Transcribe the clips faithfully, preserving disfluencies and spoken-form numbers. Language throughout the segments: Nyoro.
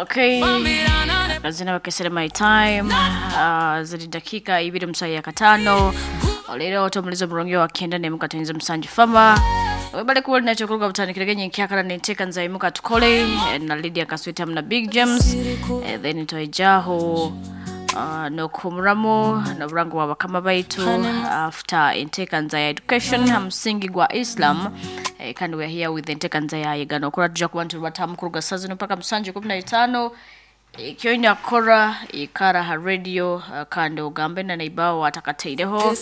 Okay, akazina bakesere my time. uh, ziri dakika ibiri musayi ya katano. Olero otomulizo mulungi wa kenda nemukatenze musanju fama webale kuba olina kyokuruga butandikirege nyenkyakala nenteeka nzaimuka tukole eh, na Lydia Kaswita na Big James, eh, then toijaho uh, nokuhumuramu noburango bwa bakama baitu after enteekanza ya education ha musingi gwa Islam. eh, kandi we are here with enteekanza ya yegano okora tuja kuba ntubatamu kuruga saa zino mpaka musanju kumi na itaano. Ekyoina kukora ikara ha radio, uh, kandi ogambe na neibawo atakateireho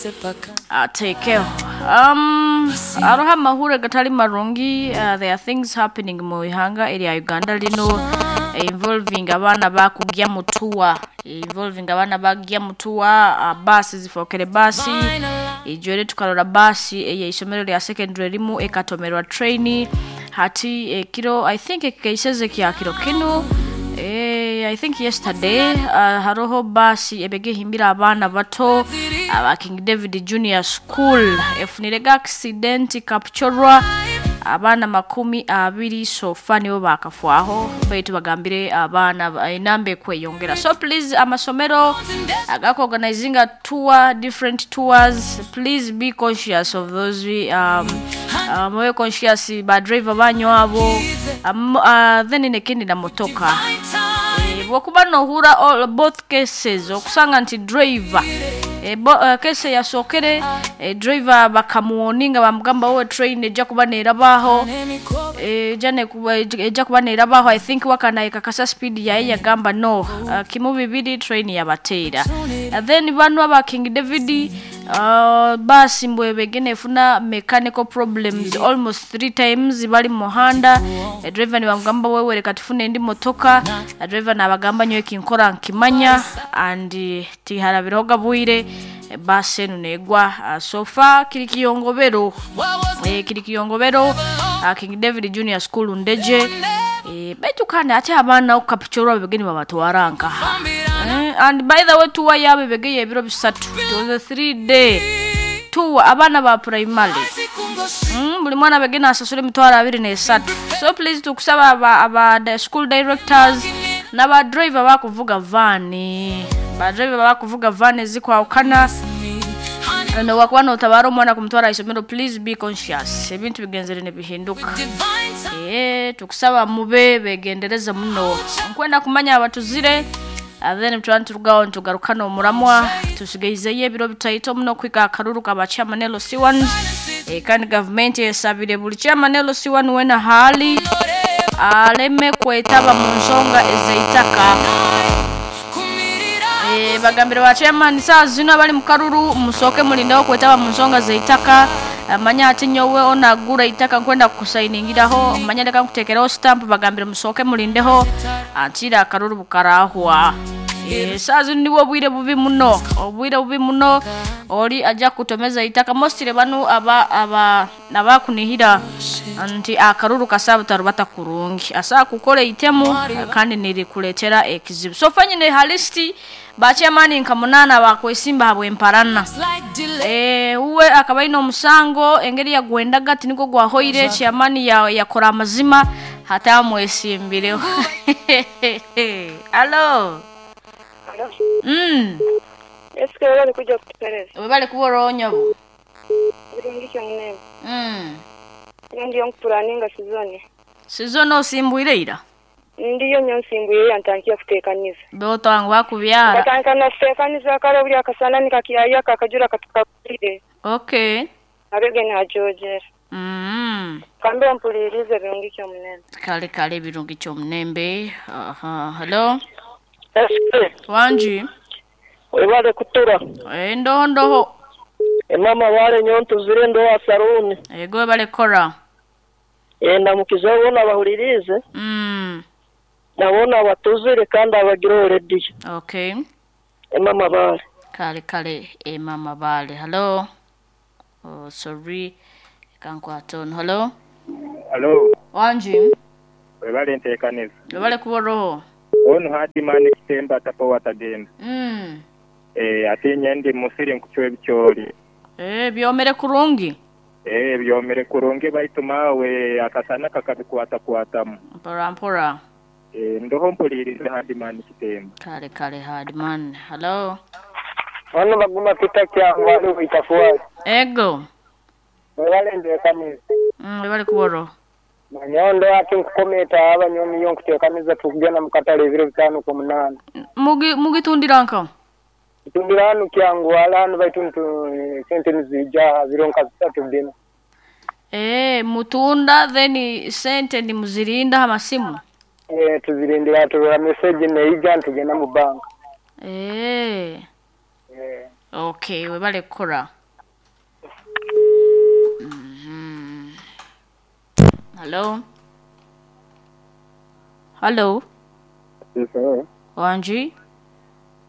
atekeho. um, aroho amahure gatali marungi. uh, there are things happening mu ihanga erya Uganda lino, eh, involving abaana bakugya mutuwa, involving abaana bagya mutuwa, uh, basi zifokere basi ijwere tukarora basi eyeisomero lya secondary rimu ekatomerwa train hati ekiro. I think ekikeiseze kya kiro kino. Eh, I think yesterday, uh, haroho basi ebegehimbira abaana bato aba King David Junior School efunirega accident kapchorwa abaana makumi abiri. Sofa nibo bakafwaho, baitu bagambire abaana enamba ekweyongera. So please, amasomero agakuorganizinga tour, different tours, please be conscious of those. um, uh, mube conscious ba driver banyu abo. um, uh, then nekindi na motoka. Eh, bwokuba nohura all both cases, okusanga nti driver, e, bo, uh, kese yasookere, e, driver bakamuwoninga bamugamba wowe train ejja kuba neerabaho, ejja nekuba ejja kuba neerabaho. I think wakanaye kakasa speed yaye yagamba no, uh, kimu bibiri train yabateera. uh, then bano aba King David, uh, basi mbwebegene efuna mechanical problems almost three times bali mu muhanda. e, driver nibamugamba wewe reka tufune indi motoka. uh, driver nabagamba nyowe kinkora nkimanya and uh, tiharabiraho gabwire, eh, basi enu negwa. uh, so far kiri kiyongobero, eh, kiri kiyongobero, uh, King David Junior School Ndeje. eh, baitu kandi ate abaana okukapchorwa bebegeni babatwara nkaha. Eh, and by the way, tour yaabo ebegeye ebiro bisatu. It was a three day tour, abaana ba primary. mm, buli mwana begena asasula emitwalo abiri nesatu. So please, tukusaba aba, aba the school directors n'aba driver bakuvuga vani, ba driver bakuvuga vani ezikwawukana, nowakuba notabaara omwana kumutwara isomero, please be conscious, ebintu bigenzere nebihinduka. Eh, tukusaba mube begendereza muno. Nkwenda kumanya abatuzire, uh, then tuba niturugaho nitugarukana omuramwa. Tusigaizeyo ebiro bitaito muno kwika akaruru kaba chairman L C one. eh, kandi gavumenti esabire buli chairman L C one wena hali aleme kwetaba mu nsonga ezeitaka. Eh, bagambire ba chairman saa zino abali mu karuru musooke mulindeho kwetaba mu nsonga zeitaka. Manya ati nyowe onagura itaka nkwenda kukusayiningiraho, manya leka nkutekereho stamp. Bagambire musooke mulindeho antira akaruru bukarahwa. Eh, saa zino nibwo obwire bubi muno, obwire bubi muno. Oli ajja kutomeza itaka mostire banu aba aba abakunihira nti akaruru kasaba kurungi asa kukora itemu kandi nirikuletera ekizibu. So fanyine halisti ba chairman nka munana bakwesimba habwemparana. eh uwe akaba ino omusango engeri yagwendaga tiniko gwahoire chairman ya yakora amazima hatamwesimbireho. Alo. Mm. Eske wala nikuja kutupereza. Webale kuba oronyobo. Birungi kyonne. Mm. Ndiyo nkupulaninga sizoni. Sizono osimbwire ira. Ndiyo nyonsimbuye yantankiye kutekaniza. Beoto wangu bakubyara. Katandika nakutekaniza kale buli akasana nikakiyaya kakajura katukagulire. Okay. Abege najojera. Mm. Kambe mpulirize birungi kyomunene. Kale kale, ebirungi kyomunembe. Aha, hello. Eske Wanji. webale kutura. Eh, ndoho ndoho. Emama bale nyontuzire ndowa saruni. Ego webale kora. Enda mukiza bona bahulirize. Mm. Nabona abatuzire kandi abagira orediyo. Okay. Emama bale. Kale kale, e mama bale. Hello. Oh, sorry. Kankwatono. Hello. Alo, Wanji. webale nteekaniza. Webale kuba roho. Ono hatimani kitemba tapo watagenda. Mm. Eh, ate nyendi musiri nkuchwe ebikyoli. Eh, byomere kurungi. Eh, byomere kurungi baitu mawe akasana kakabikwata kwatamu. Mpora mpora. Eh, ndoho mpuliriza Hadimani Kitemba. Kale kale Hardman. Hello. Ono baguma pita kyangwa ali itafuwa. Ego. Wale ndeekaniza. Mm, webale kuboro. Manyondo ati nkukometa abanyomi yo nkuteekaniza tukugenda mu katale ebiro bitaano ku munaana. Mugi mugitundira nka. Tutundira hanu kyangwa hanu baitu ntu sente nizija biro nka bisatu bina. Eh, mutunda then sente ni muzirinda amasimu. Eh, tuzirindira turora message neija ntugenda mu banka. Eh. Eh. Okay, webale kukora. Mhm. Hello. Hello. Sawa. Wanji,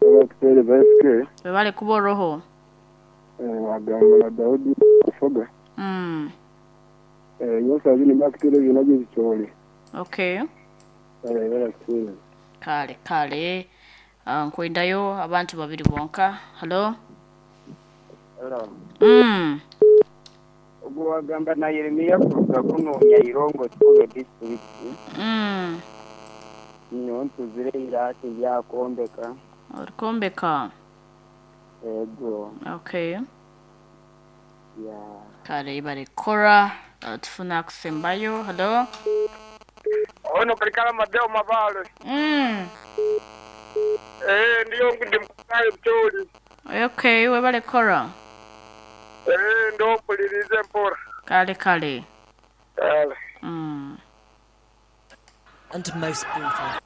Abakuteereza S K webale kuboroho. wagamba na Daudi kufoga. Mm. Eh, yose abiri bakuteereza nabyo bikyoli. Okay. Eh, barakuteereza. Kale kale. Uh, nkwendayo abantu babiri bonka. Hello. Mm. Ogwo wagamba na Yeremiya kuruga kunoonya Irongo Togo district Mm. nyowe ntuzire Iraki byakombeka Orikombeka. ego Okay. ya Kale ibale kora. Uh, tufuna kusembayo. Hello. Ono kalikala madeo mabale. Mm. Eh, ndiyo ndi mkukaye mcholi. Okay, webale kora. Eh, ndo mpulirize mpora. Kale kale. Kale. Mm. And most brutal.